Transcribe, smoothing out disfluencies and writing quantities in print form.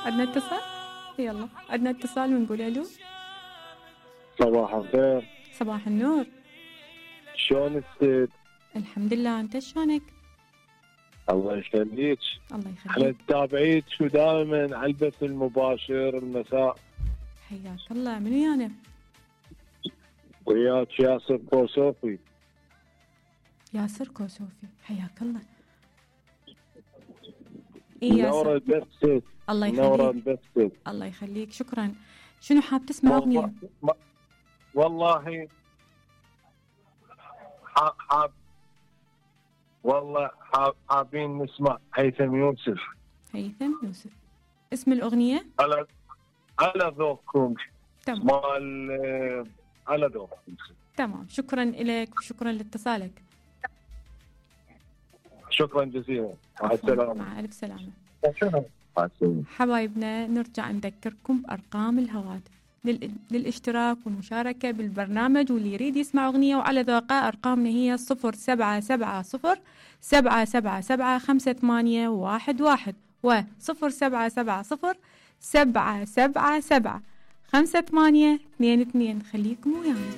عندنا اتصال؟ يلا عندنا اتصال ونقول الو. صباح الخير. صباح النور. شلونك ست؟ الحمد لله، انت شلونك؟ الله يخليك. الله يخليك. احنا نتابعيك ودائما على البث المباشر المساء. حياك الله. من ويانا؟ وياك ياسر كوسوفي. ياسر كوسوفي، حياك الله. منورة البث ست. الله يخليك. منورة البث ست. الله يخليك، شكرا. شنو حاب تسمع اغنية؟ والله حابين نسمع هيثم يوسف. هيثم يوسف. اسم الأغنية؟ على ذوقكم. تمام. على ذوقكم. تمام، شكرا لك وشكرا لاتصالك. شكرا جزيلا. مع السلامة. مع ألف سلامة. مع السلامة. حبايبنا، نرجع نذكركم بأرقام الهواتف للاشتراك والمشاركة بالبرنامج، واللي يريد يسمع أغنية وعلى ذوقه أرقامنا هي 0770-777-5811 و0770-777-5822. خليكم ويانا.